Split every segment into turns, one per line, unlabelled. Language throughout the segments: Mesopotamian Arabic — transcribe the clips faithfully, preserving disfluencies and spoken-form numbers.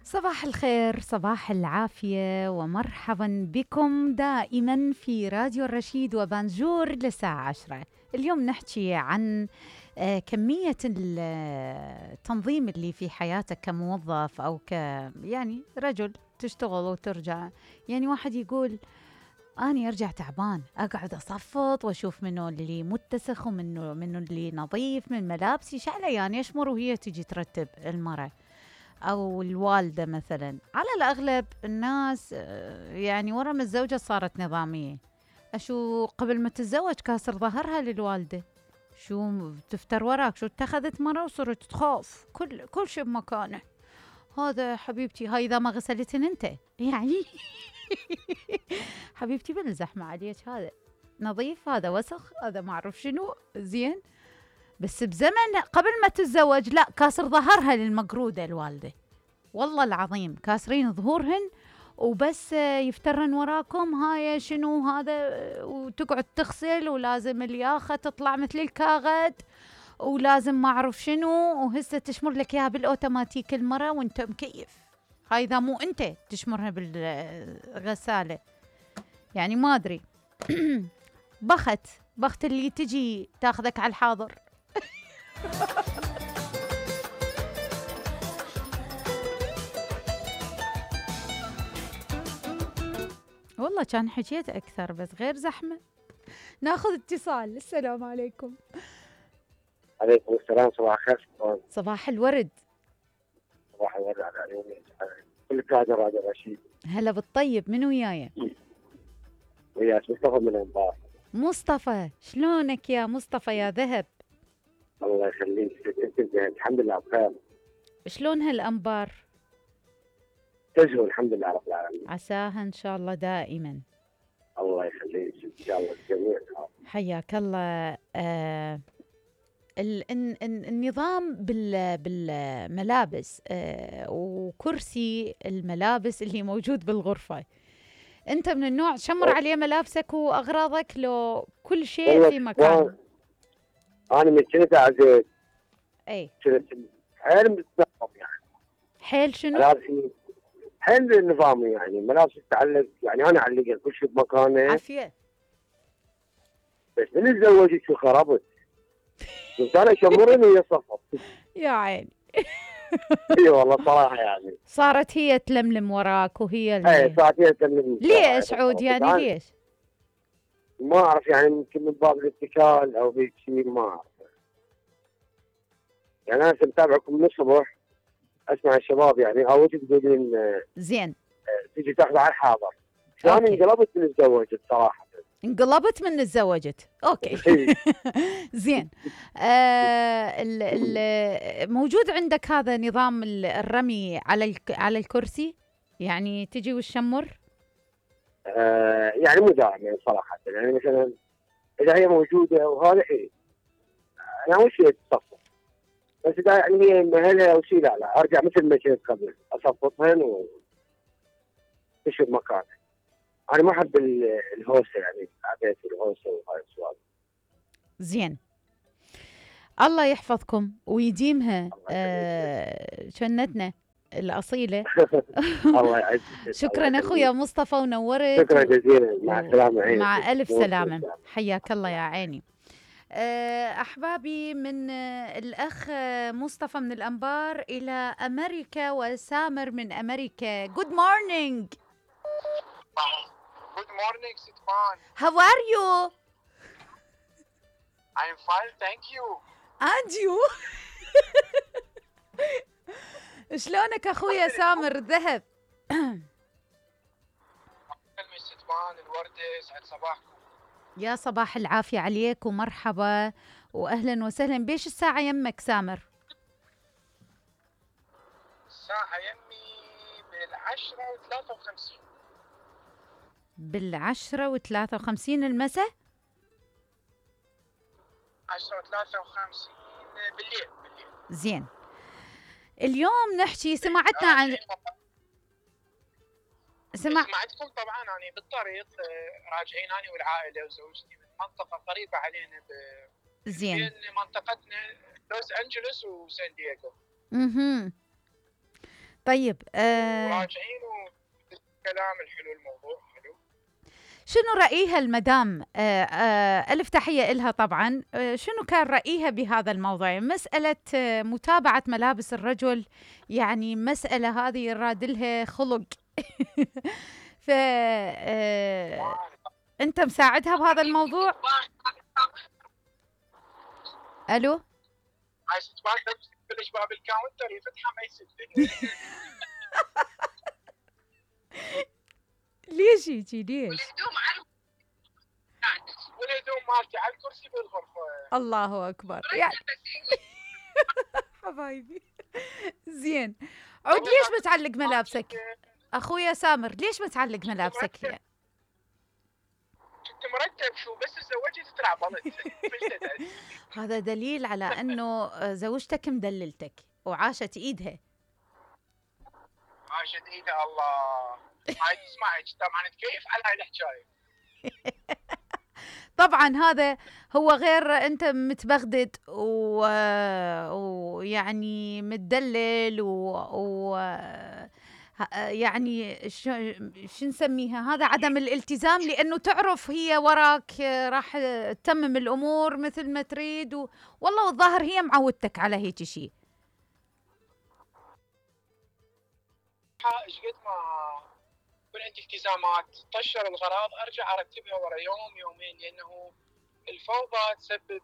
صباح الخير، صباح العافية، ومرحبا بكم دائما في راديو الرشيد وبانجور للساعة عشرة. اليوم نحكي عن كمية التنظيم اللي في حياتك كموظف أو ك يعني رجل تشتغل وترجع. يعني واحد يقول أنا أرجع تعبان، أقعد أصفط وأشوف منه اللي متسخ ومنه منه اللي نظيف من ملابسي شعله، يعني أشمر وهي تجي ترتب المرة أو الوالدة مثلا. على الأغلب الناس يعني ورا ما الزوجة صارت نظامية. أشو قبل ما تتزوج كاسر ظهرها للوالدة، شو تفتر وراك، شو اتخذت مرة وصرت تخاف كل كل شيء بمكانه. هذا حبيبتي، هاي إذا ما غسلتن أنت يعني حبيبتي بنزح ما عليك، هذا نظيف هذا وسخ هذا ما أعرف شنو. زين، بس بزمن قبل ما تتزوج لا، كاسر ظهرها للمقرودة الوالدة، والله العظيم كاسرين ظهورهن وبس يفترن وراكم هاي شنو هذا، وتقعد تغسل ولازم الياخة تطلع مثل الكاغد ولازم ما أعرف شنو، وهسه تشمر لك إياها بالأوتوماتيك المرة وانت مكيف. هاي إذا مو انت تشمرها بالغسالة، يعني ما أدري بخت بخت اللي تجي تاخذك على الحاضر. والله كان حكيت أكثر بس غير زحمة. ناخذ اتصال. السلام عليكم.
عليكم السلام. صباح الخير.
صباح الورد.
صباح الورد على عيوني كل قاعدة راديو رشيد.
هلا بالطيب، من وياي؟
وياك مصطفى من الانبار.
مصطفى، شلونك يا مصطفى يا ذهب؟
الله يخليك. الحمد لله بخير.
شلون هالانبار؟
تزهو الحمد لله رب العالمين.
عساها ان شاء الله دائما.
الله يخليك ان شاء الله الجميع.
حياك الله. آه ال ال النظام بال بالملابس آه وكرسي الملابس اللي موجود بالغرفة، انت من النوع شمر عليه ملابسك واغراضك لو كل شيء في مكانه؟
انا من كنت عزيز.
اي
كنت حيل متنظم يعني.
حيل شنو؟
ملابسي حيل نظامي يعني، ملابس تتعلق يعني انا اعلقها كل شيء بمكانه.
عافيه.
بس من تزوجت شو خربت؟ قلت انا شمرني وهي صفط.
يا عيني.
اي والله صراحه يعني
صارت هي تلملم وراك وهي اللي
اي صارت هي تلملم.
ليش عود يعني ليش؟
ما اعرف يعني، يمكن من باب الاتكال او هيك شيء ما اعرف. يعني انا متابعكم من الصبح، اسمع الشباب يعني او تقولين
زين
تجي تاخذ على الحاضر. انا انقلبت من تزوجت صراحه.
انقلبت من تزوجت. اوكي. زين. آه ال ال موجود عندك هذا نظام الرمي على على الكرسي، يعني تجي والشمر؟
آه يعني مو دائما يعني صراحه، يعني مثلا اذا هي موجوده وهذا ايه انا اول شيء تصفط، بس اذا يعني هي مهلها او شيء لا لا ارجع مثل ما كنت قبل اصفطهن وتشوف مكانها. انا ما احب الهوسه يعني، عبيت الهوسه وهاي السوالف.
زين، الله يحفظكم ويديمها آه شنتنا الأصيلة.
الله يعزك.
شكرا أخويا مصطفى ونورت.
شكرا جزيلا. مع السلامة.
مع ألف سلامة. حياك الله يا عيني. أحبابي، من الأخ مصطفى من الأنبار إلى أمريكا وسامر من أمريكا. Good morning.
Good morning, Sitpan.
How are you?
I'm fine, thank you.
And you? شلونك أخويا سامر ذهب؟
ستبان الوردة، سعد صباحكم.
يا صباح العافية عليك ومرحبا وأهلا وسهلا. بيش الساعة يمك سامر؟
الساعة يمي بالعشرة وثلاثة وخمسين.
بالعشرة وثلاثة وخمسين المساء؟
عشرة وثلاثة وخمسين بالليل. بالليل.
زين. اليوم نحكي، سمعتنا عن
سمع... سمعتكم طبعا. أنا بالطريق راجعين أنا والعائلة وزوجتي من منطقة قريبة علينا ب...
زين.
بين منطقتنا لوس أنجلوس وسان دييغو.
اها. طيب آه
وراجعين وكلام الحلو، الموضوع حلو.
شنو رأيها المدام؟ آه آه ألف تحية إلها طبعا. آه شنو كان رأيها بهذا الموضوع؟ مسألة آه متابعة ملابس الرجل، يعني مسألة هذه يرادلها خلق. ف آه أنت مساعدها بهذا الموضوع؟ ألو؟
عايز تبان تبلش باب الكاونتر يفتحها ما يسد.
ليش يجي ليش؟
والهدوم مالتي على الكرسي بالغرفة.
الله أكبر يعني. حبايبي زين. عود ليش بتعلق ملابسك؟ أخويا سامر ليش بتعلق ملابسك يعني؟
كنت مرتب شو بس تزوجت تلعب بلد.
هذا دليل على أنه زوجتك مدللتك وعاشت إيدها.
عاشت إيدها الله. هاي تسمعك طبعا تكيف على هاي الحكاية.
طبعا هذا هو غير انت متبغدد ويعني و... متدلل و, و... يعني شو شو نسميها، هذا عدم الالتزام، لانه تعرف هي وراك راح تتمم الامور مثل ما تريد و... والله والظاهر هي معودتك على هيك شيء.
ايش قد ما يكون عندي التزامات طشر الغراض ارجع ارتبها ورا يوم يومين، لانه الفوضى تسبب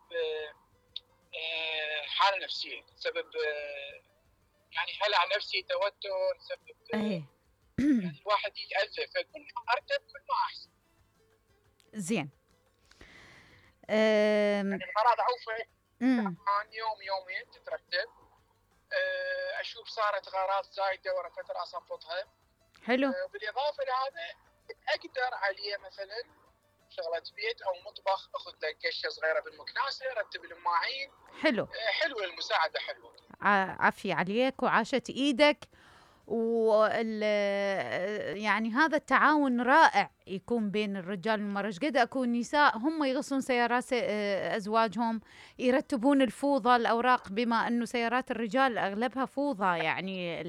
حاله نفسيه، تسبب يعني هلع نفسي، توتر، تسبب يعني الواحد يتاذى، فكل ما ارتب كل ما احسن.
زين.
يعني الغراض اعوفها عن يوم يومين تترتب، اشوف صارت غراض زايده ورا فتره اصفطها.
حلو.
بالاضافه لهذا اقدر عليه مثلا شغله بيت او مطبخ، اخذ لك قشه صغيره بالمكناسه، رتب المواعين.
حلو.
حلوه المساعده، حلوه.
عافيه عليك وعاشت ايدك، وال يعني هذا التعاون رائع يكون بين الرجال والمرأة. قد اكون نساء هم يغسلون سيارات ازواجهم، يرتبون الفوضى الاوراق، بما انه سيارات الرجال اغلبها فوضى، يعني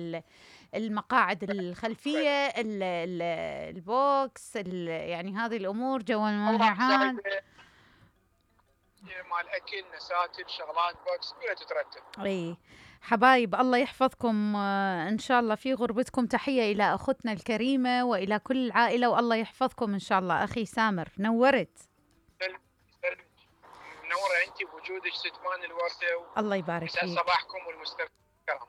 المقاعد الخلفيه، البوكس، يعني هذه الامور، جوال المهيعان
مال اكل، نساتر، شغلات بوكس كلها تترتب.
اي حبايب الله يحفظكم ان شاء الله في غربتكم. تحيه الى اختنا الكريمه والى كل العائله، والله يحفظكم ان شاء الله. اخي سامر نورت.
منوره انت بوجودك ستمان الورده.
الله يبارك فيك.
يسعد صباحكم والمستمعين الكرام.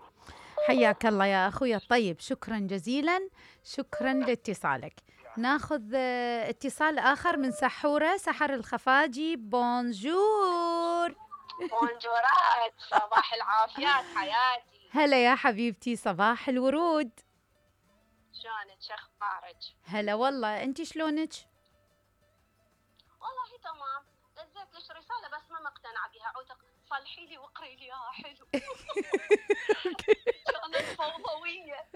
حياك الله يا اخوي الطيب، شكرا جزيلا، شكرا لاتصالك. ناخذ اتصال اخر من سحوره، سحر الخفاجي. بونجور.
بونجورات، صباح العافيات حياتي.
هلا يا حبيبتي، صباح الورود.
شلونك، شو اخبارك؟
هلا والله، انت شلونك؟
والله تمام، دزيت لك رساله بس ما مقتنعه بها، عودك صلحي لي واقري لي اياها حلو. كانت فوضويه.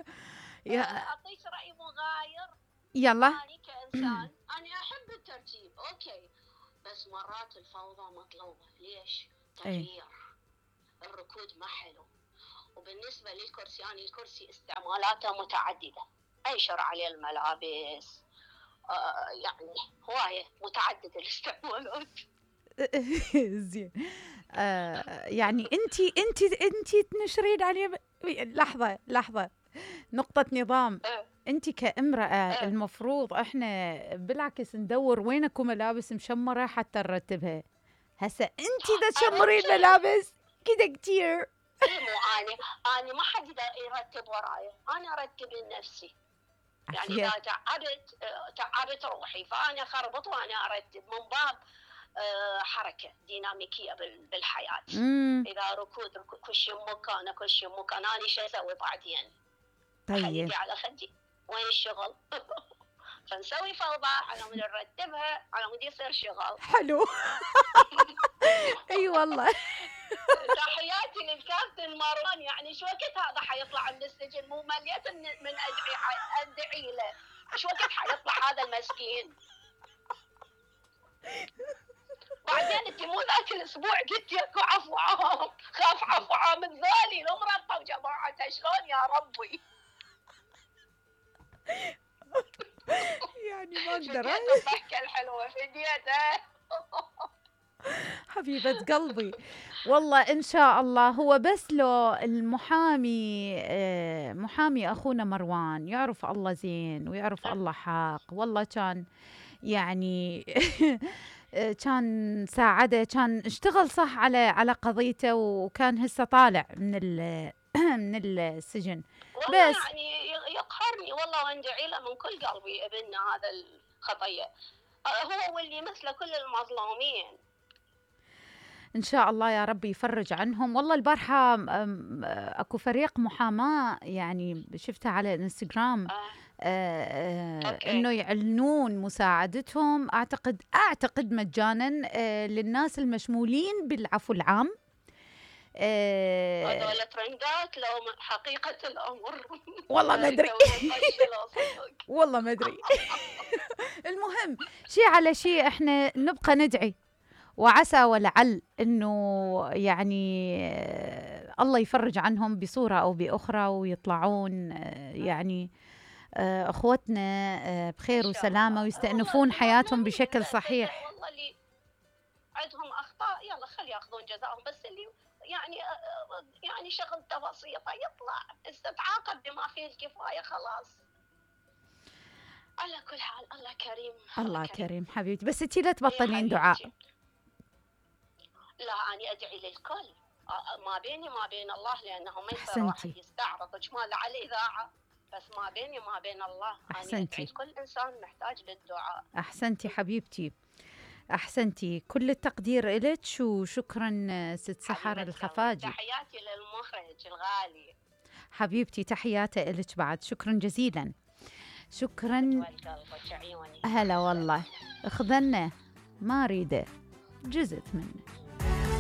يا
اعطيك راي مغاير.
يلا.
أنا كإنسان أنا أحب الترتيب أوكي، بس مرات الفوضى مطلوبة. ليش؟ تغيير. الركود ما حلو. وبالنسبة للكرسي، أنا الكرسي استعمالاته متعددة، أنشر عليه الملابس، آه يعني هواية متعددة الاستعمالات.
زين. آه يعني انتي انتي انتي تنشرين عليه ب... لحظة لحظة، نقطة نظام. انت كامرأة المفروض احنا بالعكس ندور وين اكو ملابس مشمرة حتى نرتبها. هسه انت اذا تشمرين ملابس كذا كتير.
مو انا انا ما حد يرتب وراي، انا ارتب لنفسي. يعني اذا تعبت تعبت روحي فانا اخربط وانا ارتب، من باب حركة ديناميكية بالحياة.
مم.
اذا ركود كل شيء مكانه، كل شيء مكانه، انا شو اسوي بعدين؟
طيب
خليتي على خدي، وين الشغل؟ فنسوي فوضى على مود نرتبها على مود يصير شغل
حلو. اي والله.
تحياتي للكابتن مروان، يعني شو وقت هذا حيطلع من السجن؟ مو مليت من من ادعي ادعي له، شو وقت حيطلع هذا المسكين؟ بعدين انت مو ذاك الاسبوع قلت لك عفو عام، خاف عفو عام الذالي المرطب جماعه، شلون يا ربي؟
يعني ما اقدر.
فديت الضحكه الحلوه فديتها.
حبيبة قلبي والله إن شاء الله. هو بس لو المحامي آه، محامي أخونا مروان يعرف الله زين ويعرف الله حق، والله كان يعني كان ساعده، كان اشتغل صح على على قضيته، وكان هسه طالع من ال من السجن.
والله
بس
يعني يقهرني والله، واندعي له من كل قلبي ابننا هذا الخطيه، هو واللي مثله كل المظلومين.
إن شاء الله يا رب يفرج عنهم. والله البارحة أكو فريق محاماة يعني شفتها على الانستغرام،
آه.
آه آه إنه يعلنون مساعدتهم، أعتقد أعتقد مجانا آه للناس المشمولين بالعفو العام.
هذول آه ترندات لو حقيقة الأمر
والله ما أدري والله ما أدري. المهم شيء على شيء إحنا نبقى ندعي، وعسى ولعل إنه يعني الله يفرج عنهم بصورة أو بأخرى، ويطلعون يعني أخوتنا بخير وسلامة، ويستأنفون حياتهم بشكل صحيح.
والله اللي عندهم أخطاء يلا خلي يأخذون جزاءهم، بس اللي يعني يعني شغلته بسيطة يطلع استتعاقب بما فيه الكفاية خلاص. على كل حال الله كريم.
الله كريم, كريم حبيبتي. بس انتي لا تبطلين دعاء.
لا أنا أدعي للكل، ما بيني ما بين الله، لأنه ما يصير واحد يستعرض اجمال على الإذاعة، بس ما بيني ما بين الله.
أحسنتي.
كل إنسان محتاج للدعاء.
أحسنتي حبيبتي، أحسنتي. كل التقدير إلك، وشكرا ست سحر الخفاجي.
تحياتي للمخرج الغالي
حبيبتي، تحياتي إلك بعد. شكرا جزيلا. شكرا. هلا والله. اخذنا ما اريده، جزت منه.